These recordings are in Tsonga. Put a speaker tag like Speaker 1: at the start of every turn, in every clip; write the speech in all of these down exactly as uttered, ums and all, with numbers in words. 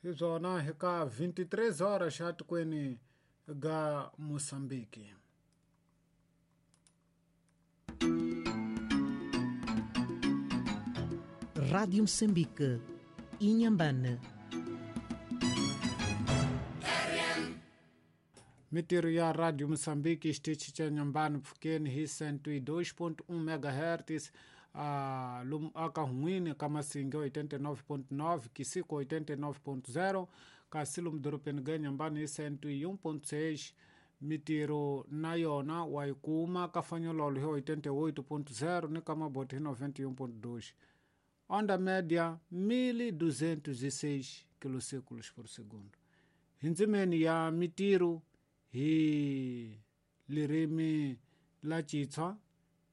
Speaker 1: Hi byona hi ka vinte e três horas atikweni ga Mosambiki.
Speaker 2: Rádio Moçambique, Inhambane.
Speaker 1: Mitirho ya Radio Moçambique xitichi xa Nyambani mpfhukeni hi cento e dois ponto um megahertz, ah, lomu aka Hun'wini ka Masinge oitenta e nove ponto nove, Kisiko oitenta e nove ponto zero, kasi lomu dorobeni ga Nyambani hi cento e um ponto seis. Mitirho na yona wa yi kuma ka Fanyololo hi oitenta e oito ponto zero ni ka Maboti hi noventa e um ponto dois. Onda média mil duzentos e seis quilociclos por segundo. Hi ndzimeni ya mitirho hi lirimi la Xitswa,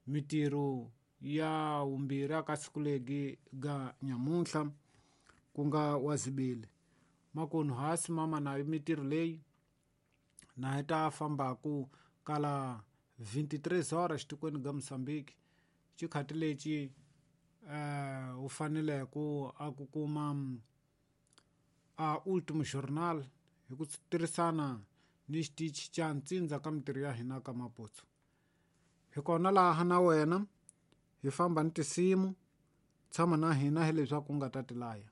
Speaker 1: mitirho ya vumbirhi aka siku legi ga nyamuntlha ku nga wa zibili makunu hasi mama nayo mitirho leyi na hi ta fambaku kala vinte e três horas tikweni ga Mosambiki. Xikhati lexi uh, u fanele ku a ku kuma a Último Jornal hi ku tirhisana ni xitichi xa ntsindza ka mitirho ya hina ka Maputo. Hi kona laha na wena hi famba ni tinsimu, tshama na hina hileswaku u nga ta tilaya.